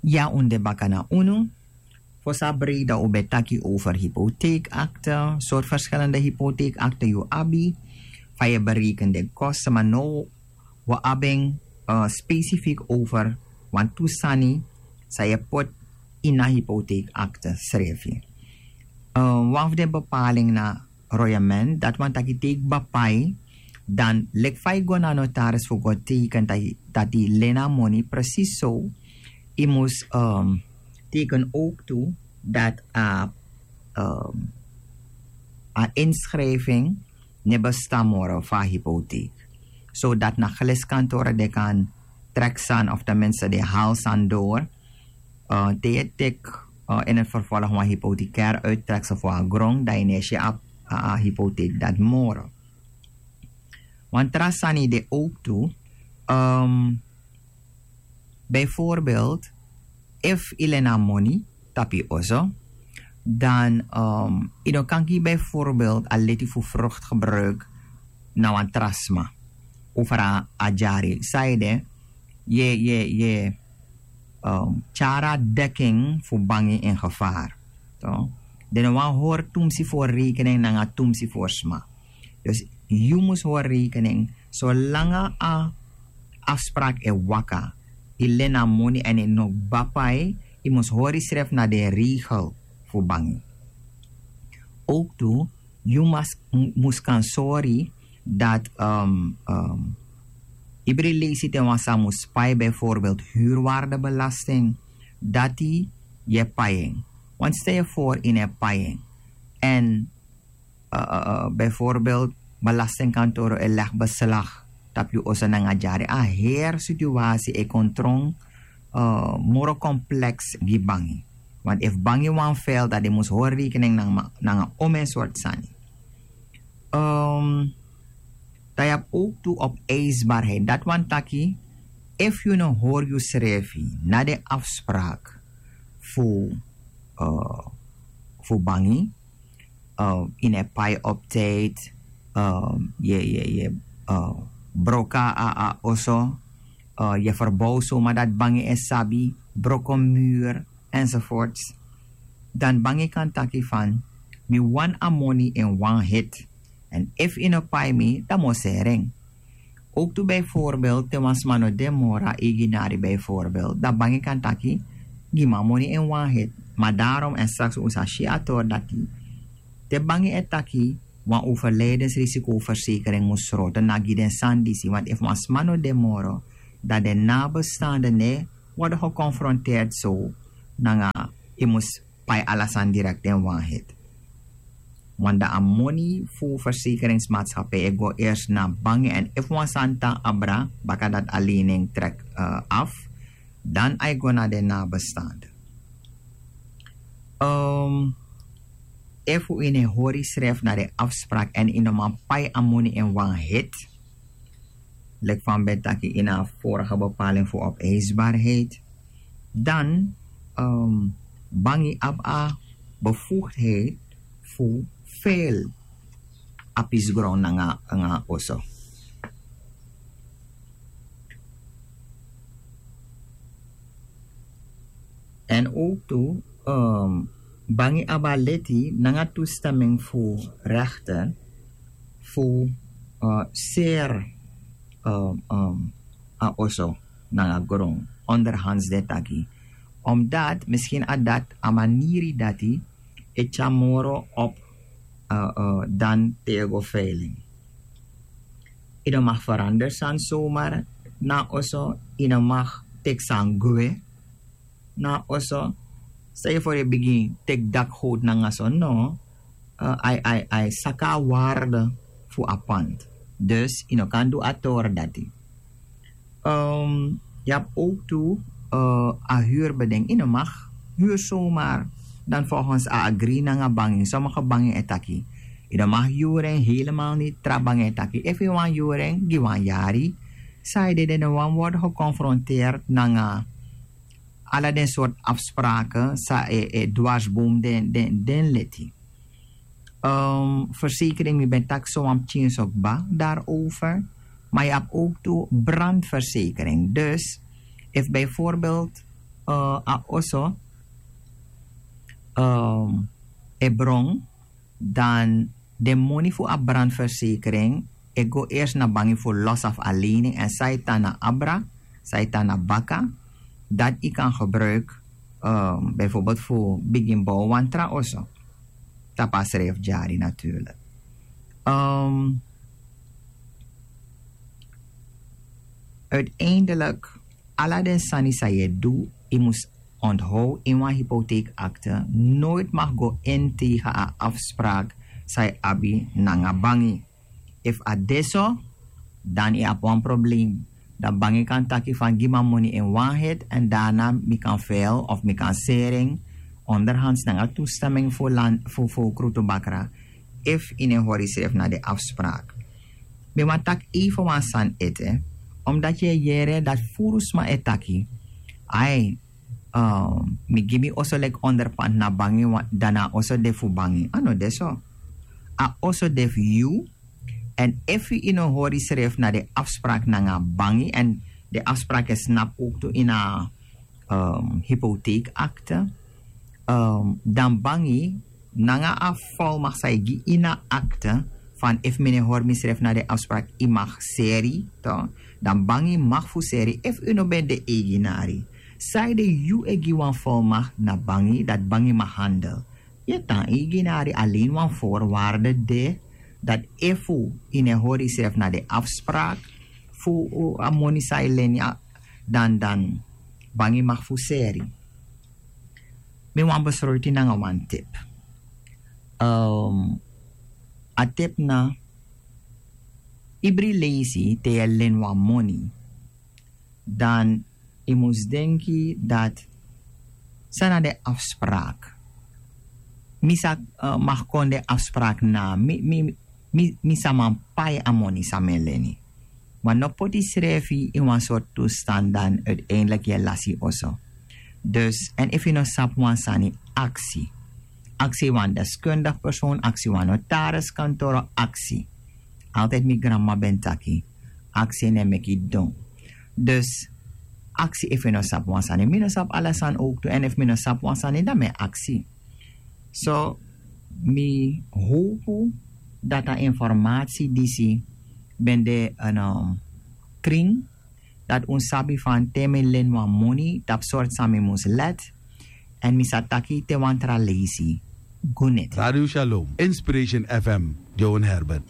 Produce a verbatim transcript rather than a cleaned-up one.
Ya un de baka na unu. Fosi a breida un ben taki over hypotheekakte, soort verschillende hypotheekakte yu abi, fa yu e bereken den kosten, ma now wi abi en specifiek over wan tu sani san yu e poti ini a hypotheekakte srefi. Wan fu den bepaling na royement, dati wani taki te yu kba pai, dan leki fa yu go na notaris fu go teken dati yu leni a moni, precies so yu mus teken ook tu dati a a inschrijving no e bestaan moro fu a hypotheek. Zodat na geliskantore den kan trek sani of ten minste den hal sani door. Te yu e teki in het vervolg wan hypothecair uittreksel fu a gron, dan yu no e si a hypotheek dati moro. Wan tra sani de ook tu, bijvoorbeeld efu yu leni a moni tapu yu oso, dan yu no kan gi bijvoorbeeld a leti fu vrucht gebruik na wan tra sma over a dyari. Sanede yu e tyari a dekking fu bangi in gevaar. Den no wani hori tumsi fu hori rekening nanga tumsi fu hori sma. Dus yu mus hori rekening solanga a afspraak e waka, yu leni a moni èn yu no kba pai, yu mus hori yusrefi na den regel fu bangi. Ook tu yu mus kan sori dati ibri leisi te wan sani mus pai bijvoorbeeld huurwaardebelasting, dati yu e pai en. Want stel yu voor yu no e pai en èn bijvoorbeeld belastingkantoro e legi beslag tapu yu oso nanga dyari, a heri situasi e kon tron moro kompleks gi bangi. Want efu bangi wani fel dan den mus hori rekening nanga omen sortu sani. Dan yu abi ook tu opeisbaarheid, dati wani taki efu yu no hori yusrefi na den afspraak fu fu bangi, yu no e pai op tijd, yu e yu e yu e broka a oso, yu e verbow soma dati bangi e sabi, broko muur enzovoorts, dan bangi kan taki fan mi wani a moni in wan hit. Èn efu yu no pai mi dan mi o seri en. Ook tu bijvoorbeeld te wan sma no de moro a eiginari bijvoorbeeld, dan bangi kan taki gi mi a moni in wan hit. Ma daarom èn straks un sa si a tori dati te bangi e taki wan overlijdensrisicoverzekering mus sroto na gi den sani disi, want efu wan sma no de moro dan den nabestaanden no e worden geconfronteerd so nanga yu mus pai ala sani direkt in wan hit. Want dan a moni fu verzekeringsmaatschappij e go eerst na bangi èn efu wan sani tan abra baka dati a lening trek af, dan a e go na den nabestaanden. Efu yu no e hori yusrefi na den afspraak èn yu no man pai a moni in wan hit, leki fa mi ben taki ini a vorige bepaling fu opeisbaarheid, dan bangi abi a bevoegdheid fu veil a pisi gron nanga a oso. Èn ook tu bangi abi a leti nanga toestemming fu rechter fu seri a oso nanga gron onderhands den taki, omdat misschien a dati a maniri dati e tyari moro op dan te yu e go veiling. Yu no mag verander sani somar na a oso, yu no mag teki sani gwe na a oso. Stel yu voor yu bigin teki dakgoot nanga so no, a e saka a waarde fu a pand. Dus yu no kan du a tori dati. Yu abi ook tu a huurbeding, yu no mag huur somar dan volgens a agri nanga bangi. Sommige bangi e taki yu no mag huur en, helemaal niti. Tra bangi e taki efu yu wani huur en gi wan yari. Sanede den no wani worden geconfronteerd nanga ala den soort afspraken san e dwarsboom den leti. Verzekering, mi ben taki so wan pikin so kba daarover. Maar yu abi ook tu brandverzekering. Dus efu bijvoorbeeld A oso e bron, dan den moni fu a brandversekering e go ersi na bangi fu losi a fu a lening èn san e tan na abra, san e tan na baka, dati yu kan gebruiki, bijvoorbeeld fu bigin bow wan tra oso tapu a srijfu dyari natuurlik. Uiteindelik, ala den sani san yu e du, yu mus onthow ini wan hypotheekakte noit mag go in tegen a afspraak san yu abi nanga bangi. Efu a de so, dan yu abi wan probleem. Dan bangi kan taki fan gi mi a moni in wan hit èn daarna mi kan fil of mi kan sering onderhands nanga toestemming fu land fu fu krutu bakra. Efu yu no e hori yusrefi na den afspraak. Mi wani taki even wan sani ete, omdati yu e yere dati furu sma e taki, ai, mi gi mi oso leki onderpand na bangi, dan na a oso de fu bangi. A no de so. A oso de fu yu. Èn efu yu no hori yusrefi na den afspraak nanga bangi èn den afspraak e snapu owktu ini a hypotheekakte, dan bangi nanga a volmacht san yu gi ini a akte, fan efu mi no e hori misrefi na den afspraak yu mag seri, dan bangi mag fu seri efu yu no ben de eigenari. Sanede yu e gi wan volmacht na bangi dati bangi mag handel? Yu e tan eigenari, alen wan voorwaarde de dati efu yu no e hori yusrefi na den afspraak fu a moni san yu leni, dan dan bangi mag fu seri. Mi wani besroiti nanga wan tip. A tip na, ibri leisi te yu e leni wan moni, dan yu mus denki dati san na den afspraak. Mi sa mag kon den afspraak na mi mi mi sa man pai a moni san mi e leni. Ma no poti yusrefi ini wan sortu toestand dan uiteindelik yu e lasi yu oso. Dus èn efu yu no sabi wan sani, aksi. Aksi wan deskundig persoon, aksi wan notariskantoro, aksi. Altijd mi granmama ben taki, aksi no e meki yu don. Dus aksi efu yu no sabi wan sani. Mi no sabi ala sani owktu èn efu mi no sabi wan sani dan mi e aksi. So mi howpu dati a informatie disi ben de kring, dati un sabi fan te mi leni wan moni tapu sortu san mi mus let. Èn mi sa taki te wan tra leisi. Guniti. Radio Shalom, Inspiration F M, Joan Herbert.